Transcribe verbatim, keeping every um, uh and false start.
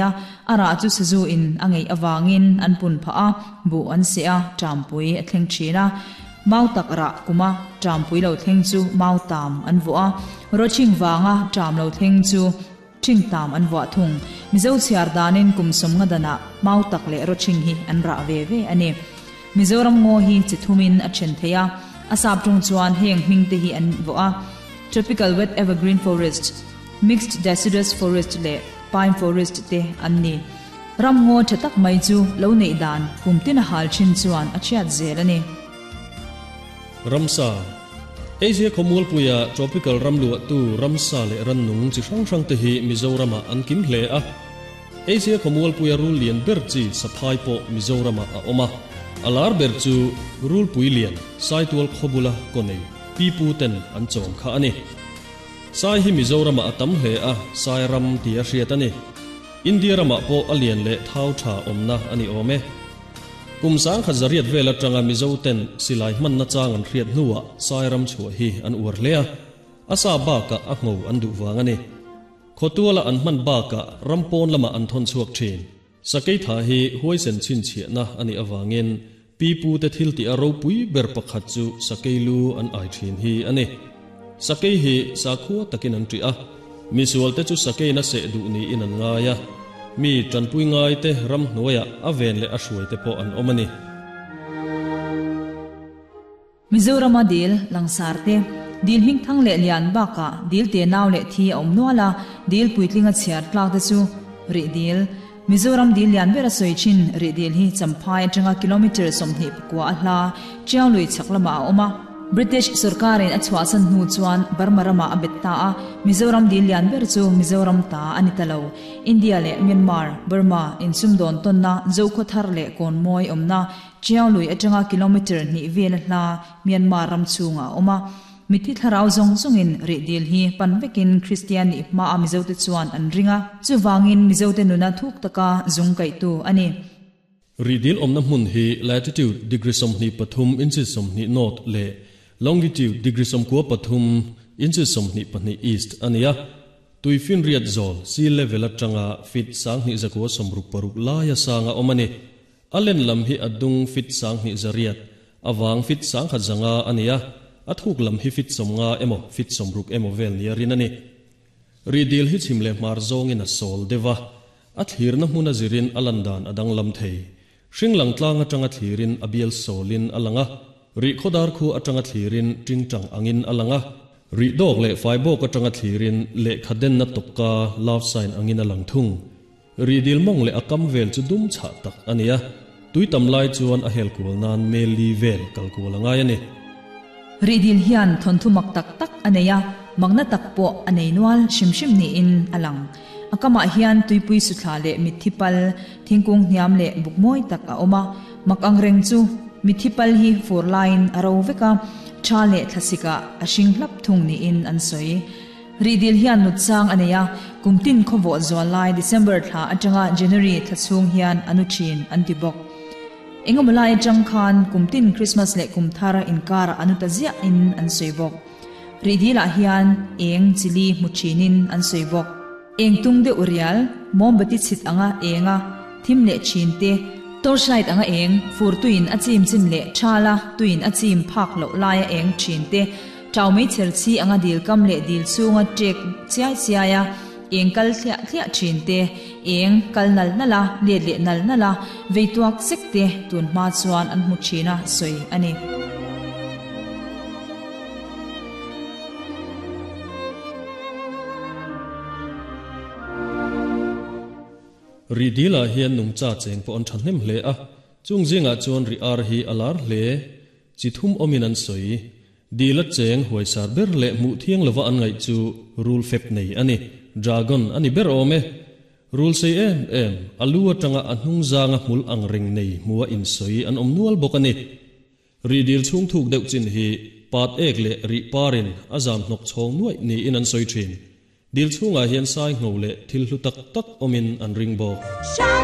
A ara chu sazu in angei awangin an pun pha a bu an se a tampui a thleng thina mau tak ra kuma tampui lo thleng chu mau tam an vo a roching wanga tam lo thleng chu thing tam an wa thung mizo chiar danin kumsom nga dana mau tak le roching hi an ra ve ve ani Mizoram ngo hi chithumin a then theia asap tung chuan heng hming te hi an vo a tropical wet evergreen forest mixed deciduous forest le pine forest te an ni ram ngo thatak mai chu lo nei dan kumtin a hal chin chuan a chiat zel ani Ramsa Asia khomul puya tropical ramlu tu ramsa le rannung chi hrang hrang te hi Mizorama an kim hle a Asia khomul puya rul lian ber chi saphai po Mizorama a oma alar ber chu rul pui lian saitual khobula konei pipu ten an chom kha ani sai hi Mizorama atam hle a sai ram ti a hriat ani India rama po alian le thau tha omna ani ome kum sang kha zariat vela tanga Mizo ten silai man na chang an hriat nuwa sai ram chu hi an ur le a asa ba ka a ngo an du wang ani khotuala an man ba ka rampon lama an thon chuak thin sakei tha hi huaisen chin chhe na ani awangin pipu te thil ti aro pui ber pakhat chu sakei lu an ai thin hi ani sakei hi sakhua takin an tri a misual te chu sakei na se du ni in an ngaya mi tanpui ngai te ram hnuaia a ven le a hruai te pawh an awm ani Mizorama dil langsar te dil hing thang le lian baka dil te naw le thi awm nuala dil puitlinga chhiar tlak te chu ri dil Mizoram dil lian bera soichin ri dil hi champhai atanga kilometer sawmhnih pakua a hla chianglui chaklama a awma British sarkarin a chhuahsan hnu chuan Burma rama a bet ta a Mizoram dil lian ber chu Mizoram ta ani talo India le Myanmar Burma in sumdon tonna zokhothar le konmoi omna chianglui atanga kilometer ni vel hla Myanmar ram chunga oma mithi tharau zong zongin ri dil hi panvekin Christian ni ma a Mizo te chuan an ringa chuwangin Mizo te nuna thuk taka zung kai tu ani ri dil omna hmun hi latitude degree somni pathum inches somni north le longitude degree somkua pathum inches somni pahnih east ania tuifin riat zol sea level atanga feet sang ni zakua somruk paruk laia sanga omani alen lam hi adung feet sang ni zariat awang feet sang khat zanga ania athuk lam hi fit somnga emo fit somruk emo vel ni rin ani ridil hi chimle mar zong in a sol dewa a thlir na hmuna zirin alandan adang lam thei hringlang tlang atanga thlirin abial solin alanga ri khodar khu atanga thlirin tingtang angin alanga ri dok le faibok atanga thlirin le khaden na tokka love sign angin alang thung ri dil mong le akam vel chu dum cha tak ania tuitam lai chuan a hel kul nan meli vel kalkul angai ani ridil hian thon thu mak tak tak aneya magna tak po anei nual shimshim ni in alang akama hian tuipui suthla le mithipal thingkung hniam le bukmoi tak a oma mak angreng chu mithipal hi four line aro veka tha le thlasika a hringhlap thung ni in an soi ridil hian nutchang aneya kumtin khowo zawlai December thla atanga January thachhung hian anuchin antibok engomolai changkhan kumtin Christmas le kumthara inkar anutazia in an soibok ridila hian eng chili muchinin an soibok eng tungde urial mombati chit anga enga thim le chinte torchlight anga eng fur tuin achim chim le thala tuin achim phak lo laia eng chinte chawmei cherchi anga dil kam le dil chunga tek chiai chiaya eng kal thlia thlia thinte eng kal nal nala le le nal nala veituak sekte tun ma chuan an mu thina soi ani ridila hian nungcha cheng po an thahnem hle a chung zinga chuan ri ar hi alar hle chithum omin an soi dila cheng huaisar ber le mu thiang lova an ngai chu rul fep nei ani dragon ani ber ome rul sei em em alu atanga anhung zanga hmul ang ring nei muwa in soi an om nual bok ani ridil chung thuk deuh chin hi pat ek le ri parin azam nok chhong nuai ni in an soi thin dil chunga hian sai ngo le thil hlu tak tak omin an ring bok.